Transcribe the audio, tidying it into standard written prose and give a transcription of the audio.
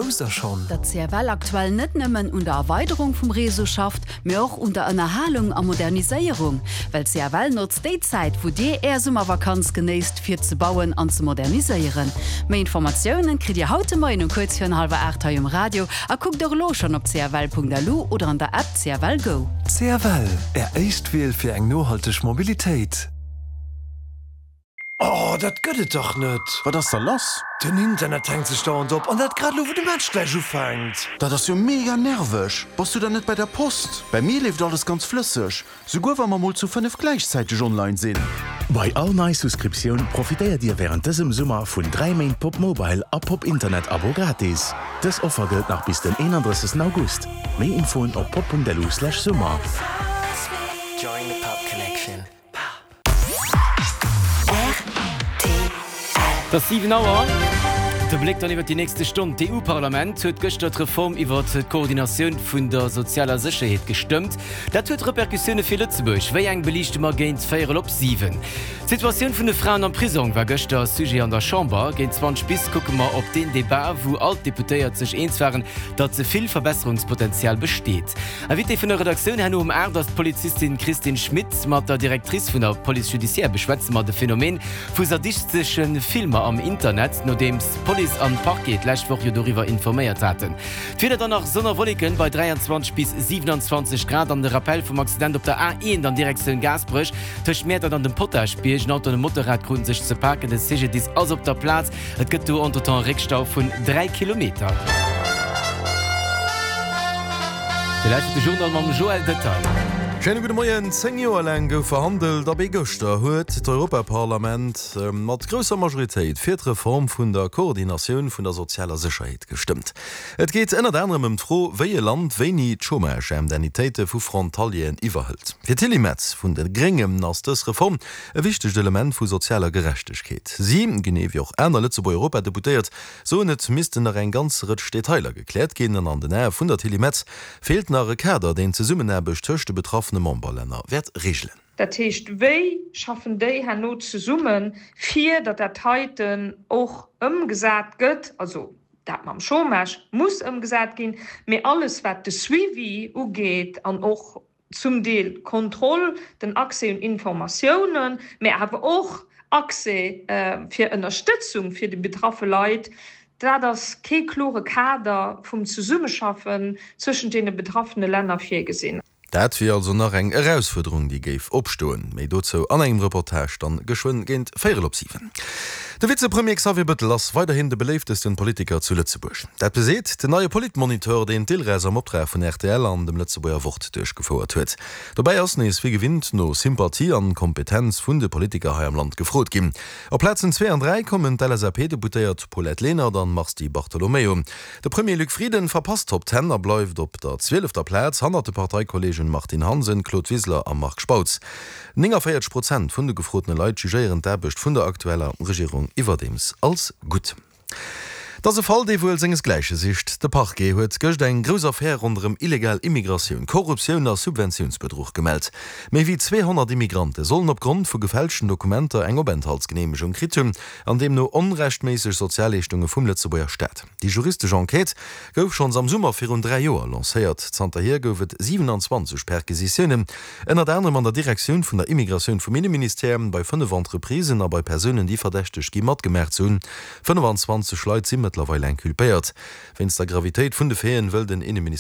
Wousst der schonn? Datt CFL aktuell net nëmmen un der Erweiderung vum Réseau schafft, mee och un der Ënnerhalung a Moderniséierung? Well CFL notzt déi Zäit, wou dir är Summervakanz genéisst, fir ze bauen an ze moderniséieren. Méi Informatiounen kritt dir haut de Moien um kuerz virun hallwer 8 hei um Radio a kuckt och elo schonn op cfl.lu oder an der App CFL Go. CFL, Är éischt Wiel fir eng nohalteg Mobilitéit. Oh, dat gëtt et dach net! Wat ass da lass? Den Internet hänkt sech dauernd op, an dat grad elo wou de Match gläich ufänkt. Dat ass jo mega nerveg! Bass du dann net bei der Post? Bei mir leeft alles ganz flësseg, souguer wa mer mol zu 5 gläichzäiteg online sinn. Bei all nei Souscriptioun profitéiert Dir wärend dësem Summer vun 3 Méint Pop Mobile a Pop Internet Abo gratis. Dës Offer gëllt nach bis den 31 August. Méi Infoen op pop.lu/summer. Join the pop connection. Et ass 7 Auer. De Bléck dann iwwer déi nächste Stonn. D'EU-Parlament huet gëschter d'Reform iwwer d'Koordinatioun vun der sozialer Sécherheet gestëmmt. Dat huet Repercussioune fir Lëtzebuerg. Wéi eng beliichte mer géint véierel op 7. D'Situatioun vun de Fraen am Prisong war gëschter Sujet an der Chamber. Géint 20 bis kucke mer op deen Debat, wou all d'Deputéiert sech eens waren, datt ze vill Verbesserungspotenzial besteet. Invitée vun der Redaktioun herno um 8 ass d'Polizistin Christine Schmit. Mat der Directrice vun der Police judiciaire beschwätze mer de Phänomen vu sadistesche Filmer am Internet, nodeems Police an Parquet d'lescht Woch jo doriwwer informéiert haten. D'Wieder dann nach Sonn a Wolleken bei 23 bis 27 Grad an de Rappel vum Accident op der A1 an Direktioun Gaasperech tëscht Mäertert an dem Potaschbierg. En Auto an e Motorrad kruten sech ze paken. De CGDIS ass op der Plaz. Et gëtt do entretemps e Réckstau vun 3 Kilometer. Dir lauschtert de Journal mam Joël Detail. Schéine gudde Moien. 10 Joer laang gouf verhandelt a béi gëschter huet d'Europaparlament mat grousser Majoritéit fir d'Reform vun der Koordinatioun vun der sozialer Sécherheet gestëmmt. Et geet ënnert anerem ëm d'Fro, wéi e Land wéini d'Chômage-Indemnitéite vu Frontalieren iwwerhëlt. Fir d'Tilly Metz vun de Gréngen ass dës Reform E wichtegt Element vu sozialer Gerechtegkeet. Si, genee wéi och aner Lëtzebuerger Europadeputéiert, soen, et missten nach eng ganz Rëtsch Detailer gekläert ginn an an den Ae vun der Tilly Metz feelt nach e Kader, deen d'Zesummenaarbecht tëscht de betraffene Memberlänner wäert reegelen. Dat heescht, wéi schaffen déi herno zesummen, fir datt dat heiten och ëmgesat gëtt? Also dat mam Chômage muss ëmgesat ginn, mee alles wat de Suivi ugeet an och zum Deel d'Kontroll, den Accès un Informatiounen, mä awer och Accès fir Ënnerstëtzung fir déi betraffe Leit, dat ass kee klore Kader vum Zesummeschaffen zwëschent deene betraffene Länner virgesinn. Dat wier also nach eng Erausfuerderung, déi géif opstoen. Méi dozou an engem Reportage dann geschwënn géint véierel op 7. De Vizepremier Xavier Bëttel ass weiderhin de beléiftesten Politiker zu Lëtzebuerg. Dat beseet den neie Politmonitor, deen d'ILRES am Optrag vun rtl an dem Lëtzebuerger Wort duerchgefouert huet. Dobäi ass nees wéi gewinnt no Sympathie an Kompetenz vun de Politiker hei am Land gefrot ginn. Op Plazen zwee an dräi kommen d'LSAP-Deputéiert Paulette Lenert an Mars Di Bartolomeo. De Premier Luc Frieden verpasst d'Top Ten a bleift op der zwielefter Plaz, hannert de Parteikollegen Martine Hansen, Claude Wiseler a Marc Spautz. 49 Prozent vun de gefrotene Leit jugéieren d'Aarbecht vun der aktueller Regierung iwwerdeems als gutt. Et ass e Fall, dee wuel sengesgläiche sicht. De Parquet huet gëscht eng grouss Affär ronderëm illegal Immigratioun, Korruptioun a Subventiounsbedruch gemellt. Méi wéi 200 Immigrante sollen opgrond vu gefälschten Dokumenter eng Openthaltsgeneemegung kritt hunn an deemno onrechtméisseg Sozialleeschtunge vum Lëtzebuerger Staat. Déi juristesch Enquête gouf schonns am Summer virun 3 Joer lancéiert. Zanterhier gouf et 27 Perquisitiounen. Ënnert anerem an der Direktioun vun der Immigratioun vum Inneministère, bei 5 Entreprisen a bei Persounen, déi verdächtegt gi matgemaach ze hunn. 25 Leit si mëttlerweil inculpéiert. Wéinst der Gravitéit vun de Faiten wëll den Inneminister.